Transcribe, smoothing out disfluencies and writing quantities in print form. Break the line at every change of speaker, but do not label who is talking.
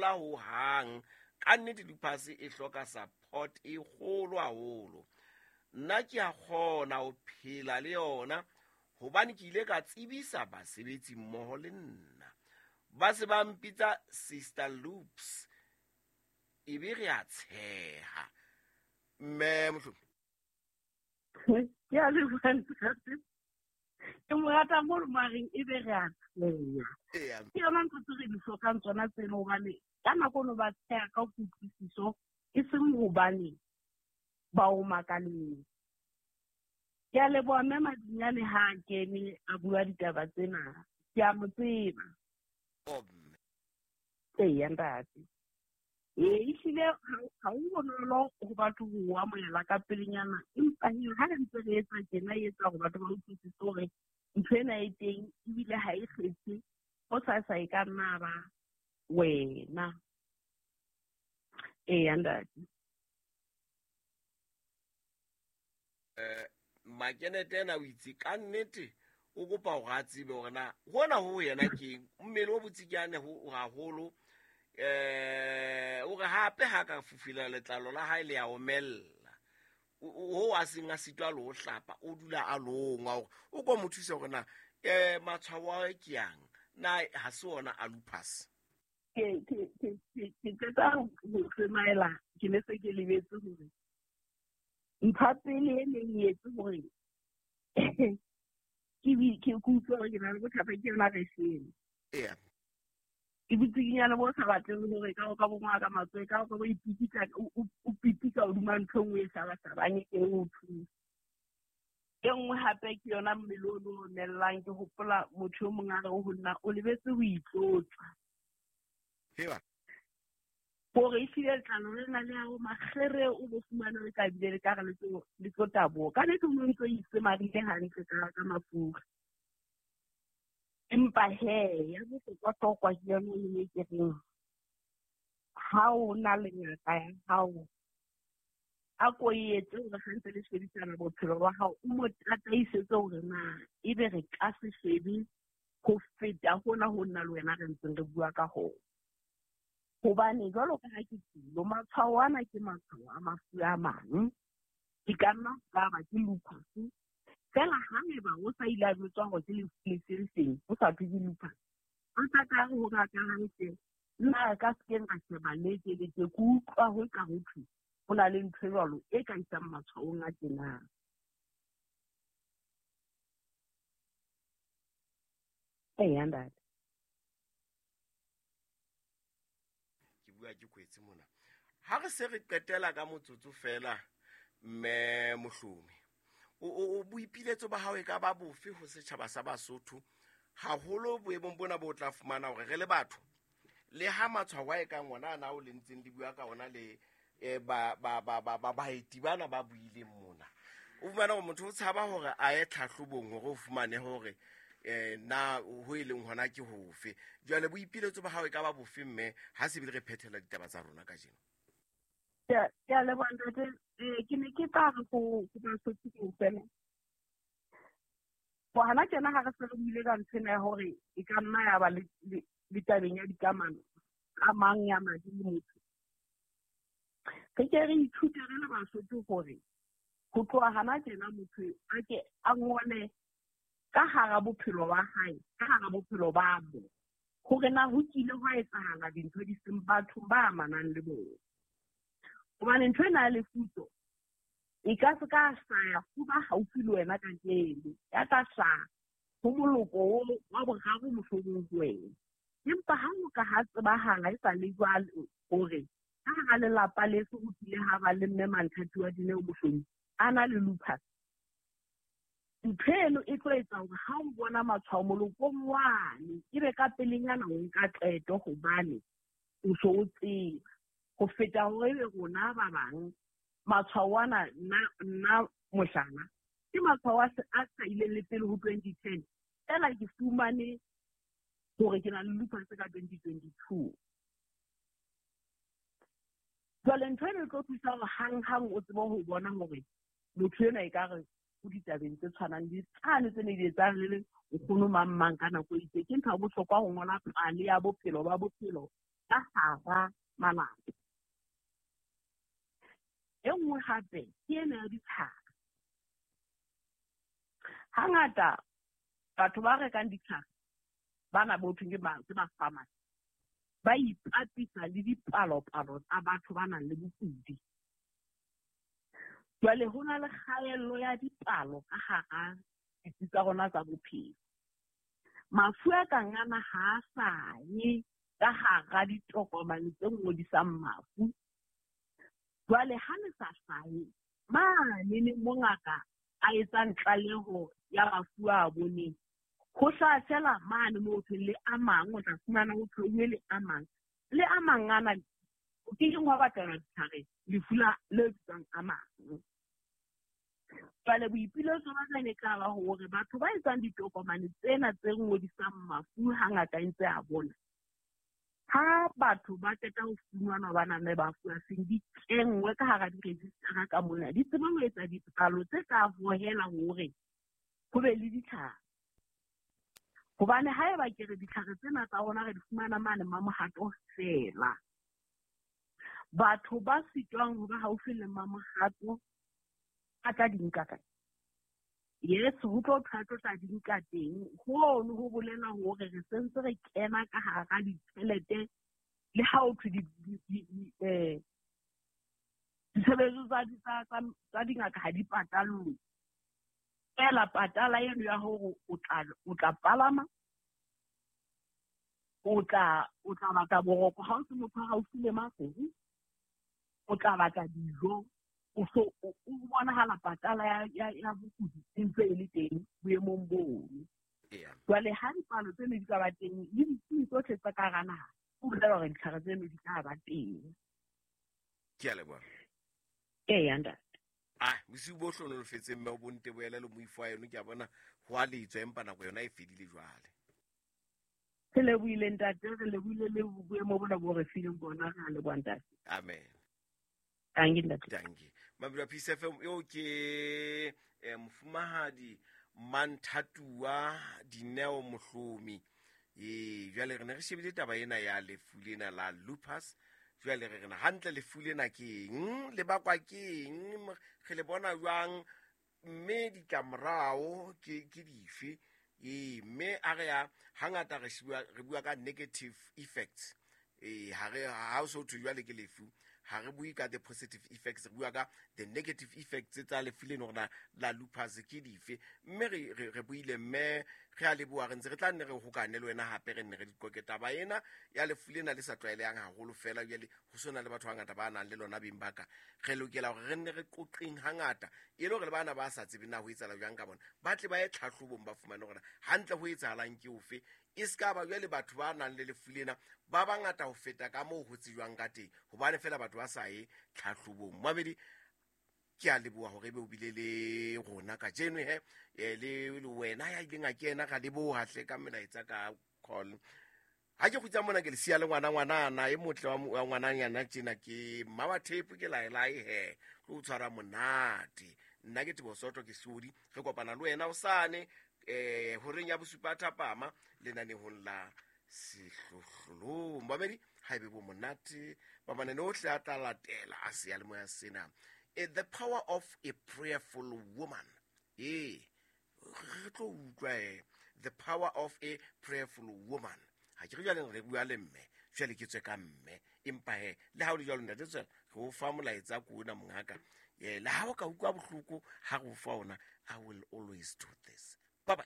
fola hohang. Ka nnete lupus e hloka support e kgolo haholo. Nna ke a kgona ho phela le yona hobane ke ile ka tsebisa basebetsi mmoho le nna. Ba se ba mpitsa Sister Loops, ebe re a tsheha. Mme Mohlomi.
Ke a leboha ntate. Ke mo rata mo re mareng ebe re a tsheha. Ke yona ntho tse re di hlokang tsona tseno, hobane ka nako no ba tsheha ka kutlwisiso, e seng hobane ba o makaleng. Ke a leboha mme Madinyane ha a kene a bua ditaba tsena. Ke a mo tseba. Eya ntate. Ee, ehlile ha ho bonolo ho batho ho amohela ka pelenyana, empa he ha re ntse re etsa tjena, e etsa hore batho ba utlwisise hore ntho ena e teng ebile ha e kgethe, ho sa sa e ka nna ba wena. Eya ntate.
Makenete ena o itse ka nnete o kopa hore a tsebe hore na hona ho yena keng, mmele o botsikiane ho haholo. O re hape ha ka fufula letlalo la hae le a omella, ho a seng a sitwa le ho hlapa, o dula a longwa hore o ko mo thuse hore na matshwao a ke yang na ha se ona a lupus.
Ke qeta ho tsemaela, ke ne se ke lebetse hore ntho pele e neng e etse hore ke utlwe hore ke na le bothata ke yona reshene. Ke botsikinyane bo sa batleng hore ka o ka bongwa ka matsoho, ka o ka bo ipikitla, o pitika hodima ntho e nngwe e hlabahlabang e o thusa. E nngwe hape ke yona mmele o no omellang. Ke hopola motho o mong a re ho nna, o lebetse ho itlotsa. Hore ehlile letlalo lena le hao makgere o bo fumane le ka bile le ka re le tlo taboha. Ka nnete o no ntso itsemarile hantle ka mafura. Empa he, ya bohlokwa-hlokwa ke yona e ne ke reng, ha o na le ngaka ya hao, a ko e etse hore ha ntse le shebisana bophelo ba hao, o mo tataisetse hore na ebe re ka se shebe ho feta hona ho nna le wena re ntseng re bua ka hona. Hobane jwalo ka ha ke tsilo, matshwao ana ke matshwao a mafu a mang. Di ka nna tsa ba ke lupus. Fela ha eba o sa ile a jwetswa hore ke lefu le se seng, o sa thwe ke lupus. O tla ka re ho ngaka hantle, nna re ka se keng ra sheba le ke le ke, ke utlwa ho ka ho thwe ho na le ntho e jwalo e ka isang matshwaong a tjenang. Eya ntate.
Ke bua ke kwetse mona. Ha re se re qetela ka motsotso fela, mme Mohlomi, o boipiletso ba hao e ka ba bofe ho setjhaba sa Basotho, haholo boemong bona bo tla fumana hore re le batho, le ha matshwao a e kang ona ana o le ntseng le bua ka ona le baeti bana ba buileng mona, o fumana hore motho o tshaba hore a ye tlhahlobong hore o fumane hore na ho e leng hona ke hofe. Jwale boipiletso ba hao e ka ba bofe mme ha se bile re phethela ditaba tsa rona kajeno?
Ke a leboha ntate. Ke ne ke tla re ho Basotho kaofela. Bo hana tjena ha re se re buile ka nthwena ya hore e ka nna ya ba le tabeng ya dikamano, kamang ya madi le motho. Re ke re ithute re le Basotho hore ho tloha hana tjena motho a ke a ngole ka hara bophelo ba hae, ka hara bophelo ba bo, hore na ho kile hwa etsahala dintho di seng bathong ba amanang le bona. Hobane ntho ena ya lefutso e ka se ka hlaya ho ba haufi le wena kajeno, ya tla hlaha ho moloko o wa boraro mohlomong ho wena. Empa ha ho ka ha tsebahala e sa le jwale hore ka hara lelapa leso ho kile ha ba le mme Manthati wa Dineo Mohlomi a na le lupus, ntho eno e tlo etsa hore ha o bona matshwao molokong wane, ebe ka pelenyana o nka qeto hobane o so o tseba. Ho feta hore ebe rona ba bang matshwao ana, nna mohlala, ke matshwao a a ileng le pele ho 2010, fela ke fumane hore ke na le lupus ka 2022. Jwale ntho eno e tlo thusa hore hang-hang o tsebe ho bona hore motho enwa ekare o ditabeng tse tshwanang le tsane tse ne di etsang le nkgono mang mang ka nako e itseng. Ke ntho ya bohlokwa ho ngola pale ya bophelo ba bophelo ka hara malapa. E nngwe hape ke ena ya ditlhare. Hangata batho ba rekang ditlhare bana bo thweng ke ba-pharmacy ba ipapisa le dipalopalo tsa batho ba nang le bokudi. Jwale ho na le kgaello ya dipalo ka hara ditsi tsa rona tsa bophelo. Mafu a kang ana ha a sa ye ka hara ditokomane tse ngodisang mafu. Jwale ha le sa hlahe mane ne mo ngaka a etsang tlaleho ya mafu a boneng, ho hlaha fela mane moo thweng le a mang, o tla fumana ho thweuwe le a mang. Le a mang ana o ke keng wa batlelwa ditlhare lefu la le bitswang a mang. Jwale boipiletso ba ka ne tla ba hore batho ba etsang ditokomane tsena tse ngodisang mafu hangata e ntse a bona, ha batho ba qeta ho fumanwa ba nang le mafu a seng, di kenngwe ka hara di-register-a ka mona, di tsebe ho etsa dipalo tse tla hohela hore ho be le ditlhare. Hobane haeba ke re ditlhare tsena tsa rona re di fumana mane Mamohato feela, batho ba sitwang ho ba haufi le Mamohato a tla di nka kae? Yes, ho tlo thwa tlo tla di nka teng. Hono ho bolela hore re sentse re kena ka hara ditjhelete le ha ho thwe ditshebeletso tsa dingaka ha di patallwe. Feela patala eno ya hore o tla palama, o tla batla boroko ha o se motho a haufi le Maseru, o tla batla dijo, o so o bonahala patala ya bokudi e ntse e le teng boemong bono. Jwale ha dipalo tseno di ka ba teng le ditsi tsohle tsa ka hara naha, ho bolela hore ditlhare tseno di tla ba teng.
Ke a leboha.
Eya, ntate.
Ah, bosiu bo hlohonolofetseng mme o bonte boele le moifo wa eno, ke a bona ho a letswa empa nako yona e fedile jwale.
Re lebohile ntate, re lebohile le boemo bona bo re fileng bona, re a leboha ntate.
Amen.
Tanki ntate.
Tanki. Mabelo Peace FM eo ke mofumahadi Manthatua Dineo Mohlomi. Jwale re ne re shebile taba ena ya lefu lena la lupus. Jwale re rena hantle lefu lena ke eng, le bakwa ke eng, re le bona jwang, mme ditlamorao ke dife. Mme a re ya hangata re bua ka negative effects. Ha re ha o so thwe jwale ke lefu, ha re bue ka the positive effects, re bua ka the negative effects tsa lefu leno rona la lupus ke dife. Mme re buile mme re a leboha, re ntse re tla nne re hokane le wena hape, re nne re diqoke taba ena ya lefu lena le sa tlwaelehang haholo fela. Jwale ho sona le batho ba bangata ba nang le lona beng ba ka, re lokela hore re nne re qoqeng hangata e le hore le bana ba sa tsebeng na ho etsahala jwang ka bona, ba tle ba ye tlhahlobong ba fumane hore hantle ho etsahalang ke ofe. E ska ba jwale batho ba nang le lefu lena ba bangata ho feta ka moo ho tsejwang ka teng, hobane fela batho ba sa ye tlhahlobong. Mabedi, ke a leboha hore ebe o bile le rona kajeno he, le wena ya ileng a kena, ra leboha hle ka melaetsa ka call. Ha ke kgutsa mona ke le siya le ngwana ngwanana e motle wa ngwananyana tjena, ke mma wa thepo, ke laelae he, tlo tshwara monate. Nna ke Teboho Soto, ke Sodi, re kopana le wena hosane horeng ya bosupa thapama lenanehong la Sehlohlolong. Babedi, ha ebe bo monate ba manane ohle a tla latela a seyalemoya sena. The power of a prayerful woman. Re tlo utlwa the power of a prayerful woman. Ha ke re jwale re bua le mme, jwale ke tswe ka mme, empa he le ha o le jwalo ntate tswela re o fa molaetsa ko ona mongaka. Le ha o ka utlwa bohloko ha re o fa ona, I will always do this. Bye bye.